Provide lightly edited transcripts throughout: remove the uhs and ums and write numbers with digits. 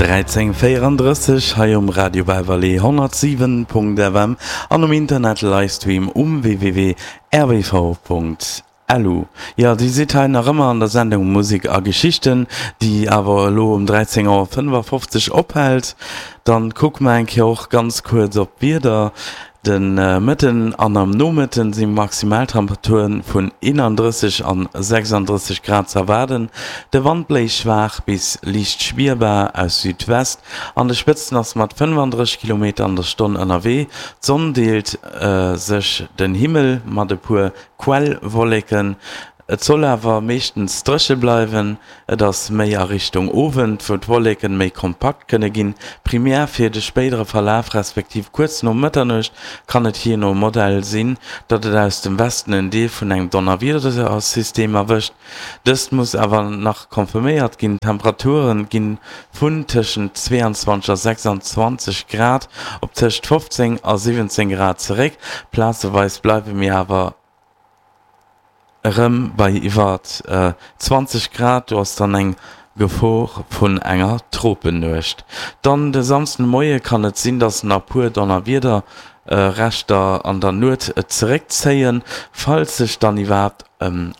13:34 hei um Radio Belval 107.fm an um Internet Livestream um www.rbv.lu. Jo, Dir sidd hei nach ëmmer an der Sendung Musek a Geschichten, déi awer elo um 13 Auer 55 ophält. Dann kucke mer eng Kéier och ganz kuerz op d'Wieder. De Mëtten an am Nomëtten si Maximaltemperaturen vun 31 an 36 Grad ze erwaarden. De Wand bléist schwaach bis liicht spierbar aus Südwest. An de Spëtzen ass mat 35 Kilometer an der Stonn ënnerwee. D'Sonn deelt sech den Himmel mat e puer Quellwolleken. Et soll awer meeschtens dréche bleiwen. Et ass méi a Richtung Owend, wou d'Wolleken méi kompakt kënne ginn. Primär fir de spéidere Verlaf respektiv kuerz no Mëtternuecht kann et jee no Modell sinn, datt et aus dem Westen en Deel vun engem Donnerwiedersystem erwëscht. Dëst muss awer nach confirméiert ginn. D'Temperature ginn vun tëschent 22 a 26 Grad op tëscht 15 a 17 Grad zeréck. Plazeweis bleiwe mir awer Erëm bei iwwer 20 Grad, do ass dann eng Gefor vun enger Tropennuecht. Dann de Samsdenmoie kann et sinn, dass nach puer Donnerwiederreschter an der Nuet zeréckzéien, falls sech dann iwwerhaapt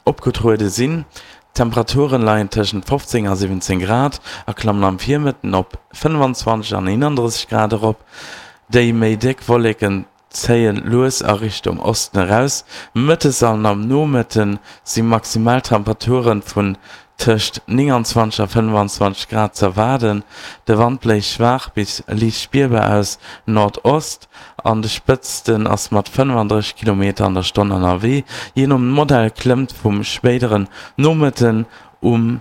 opgetruede sinn. D'Temperaturen leien tëschent 15 a 17 Grad a klammen am Virmëtten op 25 an 31 Grad erop. Déi méi déck Wolleken zéien lues a Richtung Osten eraus. Mëttes an am Nomëtte si Maximaltemperature vun tëscht 29 a 25 Grad z'erwaarden. De Wand bléist schwaach bis liicht spierbar aus Nordost, an de Spëtzten ass mat 35 Kilometer an der Stonn ënnerwee. Jee nom Modell klëmmt vum spéideren Nomëtten um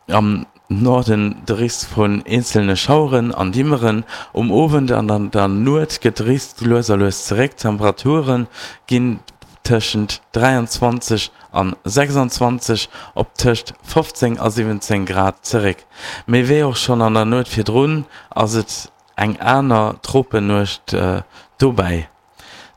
Am Norden de Risk vun eenzelne Schaueren an Dimmeren. Um Owend an an der Nuet gëtt de Risk lues a lues zeréck, d'Temperature ginn tëschent 23 an 26 op tëscht 15 a 17 Grad zeréck. Mee wéi och schonn an der Nuet virdrun ass et eng aner Tropennuecht dobäi.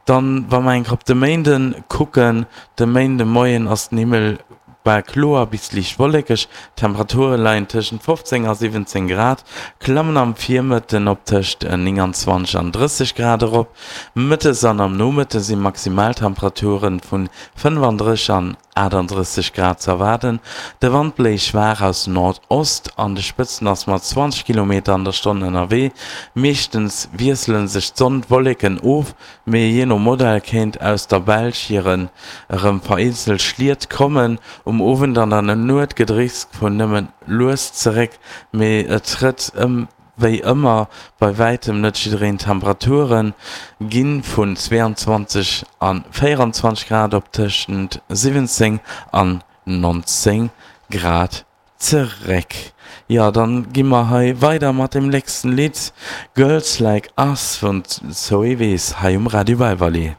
Dann, wa mer eng Kéier op de Méinde kucken, De Méindemoien ass den Himmel bal kloer bis liicht wollekeg, d'Temperature leien tëschent 15 a 17 Grad, klammen am Virmëtten op tëscht 29 an 30 Grad erop. Mëttes an am Nomëtte si Maximaltemperature vun 35 an 38 Grad ze erwaarden. De Wand bléist schwaach aus Nordost, an de Spëtzen ass mat 20 Kilometer an der Stonn ënnerwee. Meeschtens wiessele sech d'Sonn, d'Wolleken of, mee jee no Modell kéint aus der Belsch hiren erëm vereenzelt Schliet kommen. Um Owend an an der Nuet gëtt Risk vun nëmme lues zeréck, mee et trëtt wéi ëmmer bei wäitem net jiddereen. D'Temperature gi vun 22 a 24 Grad op tëschent 17 an 19 Grad zeréck. Jo, dann gi mer hei weider mat dem nächsten Lidd, Girls Like Us vun Zoe Wees hei um Radio Belval.